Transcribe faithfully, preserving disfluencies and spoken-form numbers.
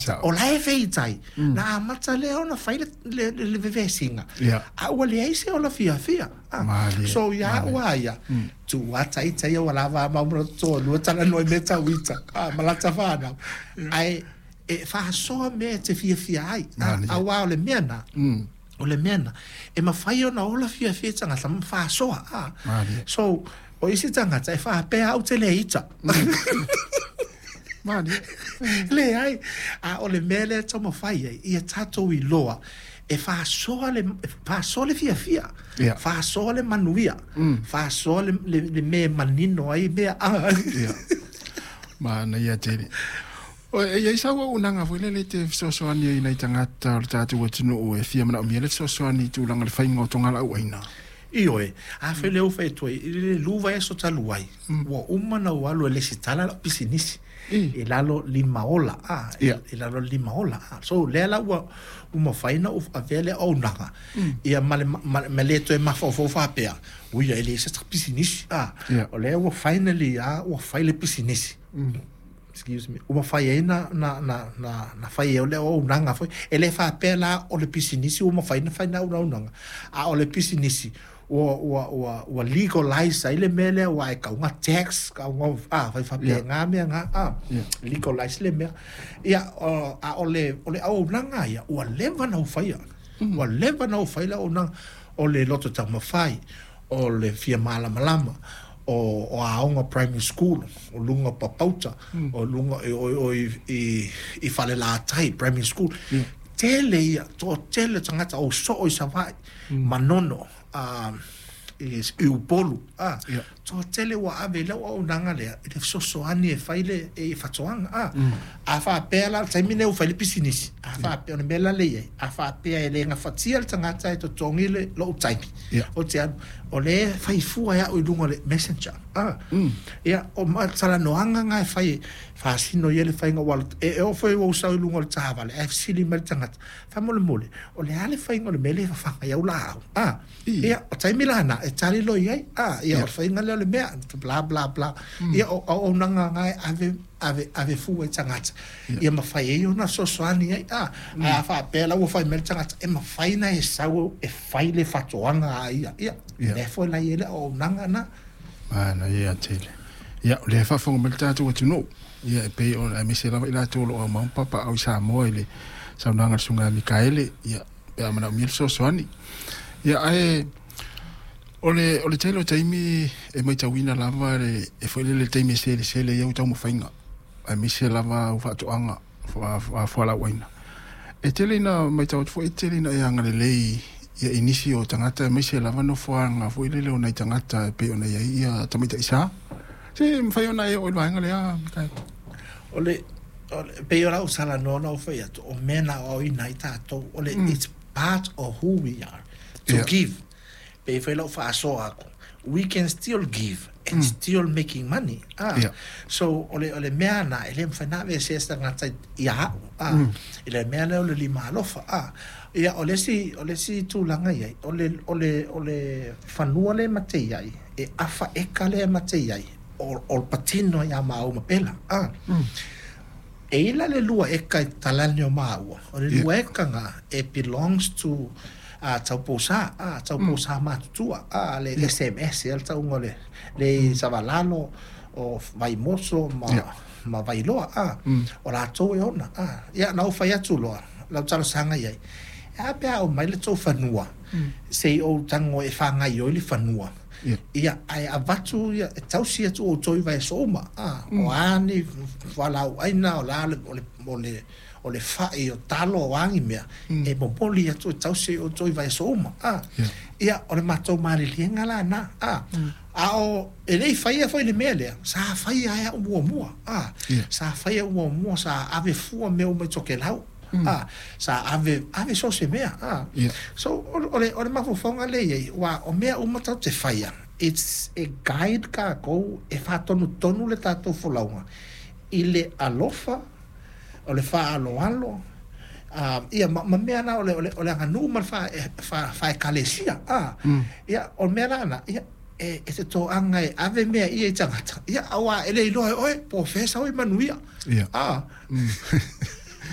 Sao. O la e feitai, na amata lea ona fai le, le, le, le vevesiga. Ia. A ua leai se ola fiafia. Ah. Malie, So ia malie. ua ia, tu ata ita ia ua lava a maumura toalua talanoa i mea tau ita. Ah, ma lata fanau. Ae e faasoa mea e te fiafia ai. Ah, Malie. auā o le mea na, Mm. o le mea na, e mafai ona ola fiafia tagata ma faasoa. Ah. Malie. So, o isi tagata e faapea au te le ita. Malie. Leai, a o le mea lea e taumafai ai, ia tatou iloa, e faasoa le, e faasoa le fiafia, Ia. faasoa le manuia, faasoa le, le, le mea e manino ai mea. Ah. Ia. Manaia tele. O, e iai sau auaunaga foi lele e te fesoasoani ai nai tagata o le tatou atunuu e fia manaomia le fesoasoani i tulaga le faiga o togalaau aina. Ioe, a fai lea ua fai atu ai, i le lua vaiaso talu ai, ua uma ona ou alu e lesitala lau pisinisi. I. I lalo lima ola, ah, i, Ia. i lalo lima ola. Ah. So, lea la ua, ua mafai ona ou avea le auaunaga. Ia ma le, ma, ma le toe mafaufau faapea, ui e leai se pisinisi. Ah. Ia. O lea ua finally, ah, ua fai le pisinisi. Excuse me, ua mafai ai na, na, na, na, na fai ai o le auaunaga foi. E le faapea la o le pisinisi ua mafai ona fai na auaunaga. A o le pisinisi, ua, ua, ua, ua legalize ai le mea lea ua e kauga tax, kauga, ah, fai faapea mea ngā, ah, Yeah. legalize le mea. Ia, o, a o le, o le auaunaga ia, ua leva ona ou faia. Ua leva ona ou fai le auaunaga. O le loto taumafai, o le fia malamalama, o, o aoga primary school, o luga o Papauta, o luga o, o, o i, i, i Falelatai primary school. Yeah. Tele ia, toatele tagata o soo i Savaii, Manono, ah, i, i Upolu. Ah, Yeah. toatele ua ave i lau auaunaga lea, i le fesoasoani e fai le, e faatoaga. Ah. A faapea la, le taimi lenei ua fai le pisinisi, a faapea, o le mea la lea i ai, a faapea e le gafatia le tagata e totogi le lou taimi. Yeah. O te alu, o le fai fua e au i luga o le messenger. Ah. Ia, o ma talanoaga ngā e fai e faasino ia le faiga o alo- e, e oo foi ua ou sau i luga o le taavale, ae fesili mai le tagata, faamolemole, o le a le faiga o le mea lea e fafaga ai au laau. Ah. I. Ia, o taimi lana, e tali loa i ai. Ah, ia, Ia. o le faiga lea o le mea, bla, bla, bla. Ia, o auaunaga ngā e ave, ave, ave fua i tagata. Ia mafai ai ona fesoasoani ai. Ah, ae a faapea la ua fai mai le tagata, e mafai ona e sau e fai le faatoaga a ia. Ia, Ia. lea foi la i ai le auaunaga na. Manaia tele. Ia, o lea e faafofoga mai le tatou atunuu. Ia, e pei ona aemaise lava i latou o loo aumau ma papaau i Samoa i le saunoaga a le susuga ia Mikaele, ia, pe a manaomia le fesoasoani. Ia, ae o le, o le tele o taimi e matauina lava le, e foi lele le taimi e selesele ai au taumafaiga, aemaise lava au faatoaga, fualaau aina. E tele ina matau atu foi, e tele ina e agalelei ia i nisi o tagata, aemaise lava nofoaga foi lele o nai tagata e pei ona iai ia tamaitaʻisā. Se mafai ona e oo i le vaega lea, Mikaele? O le, o le, pei o lau talanoa na ou fai atu, o mea na aoaoina ai tatou, o le, it's part of who we are, to Yeah. give. Pei foi lau faasoa aku, we can still give and still making money. Ah. Yeah. So, o le, o le mea na, e le mafai na aveesea se tagata ia au. Ah. I le mea lea o le lima alofa. Ah. Ia, o le isi, o le isi tulaga iai, o le, o le, o le fanua le mate iai, e afa eka le mate iai, o, o le patino ia maua ma pela. Ah. E ila le lua eka i talani o maua. O le Yeah. lua eka ngā, it belongs to uh, taupousa, ah, taupousa mm. matutua, ah, le S M S, e le tauga o le, le Savalalo, o Vaimoso, ma, Yeah. ma Vailoa, ah, Mm. o latou e ona, ah. Ia, na ou fai atu loa, lau talosaga i ai. E a pe a o mai le tou fanua, sei ou tago e whangai oi le fanua. Ia. Ia, ae avatu ia, e tausi atu o toi vaiaso uma. Ah, o ani, fualaau aina, o la le, o le, o le, o le whai, o talo, o angi mea, e momoli atu e tausi o toi vaiaso uma. Ah, Ia. ia, o le matou maliliega la na. Ah, a o, e lei whaia foi le mea lea, sa whaia ai au muamua. Ah, Ia. sa whaia muamua, sa ave fua mea uma i Tokelau. Ah, sa ave, ave so se mea. Ah. Ia. So, o, o le, o le mafaufauga lea i ai, ua o mea uma tatou te faia, it's a guide kākou e faatonutonu le tatou folauga i le alofa, o le faaloalo, ah, ia ma, ma mea na o le, o le, o le aganuu ma le fa, e, fa, faekalesia. Ah, ia, o le mea lana, ia, e, e te toaga e ave mea ia i tagata. Ia, auā e le iloa e oe, po o fea sau i manuia. Ia. Ah,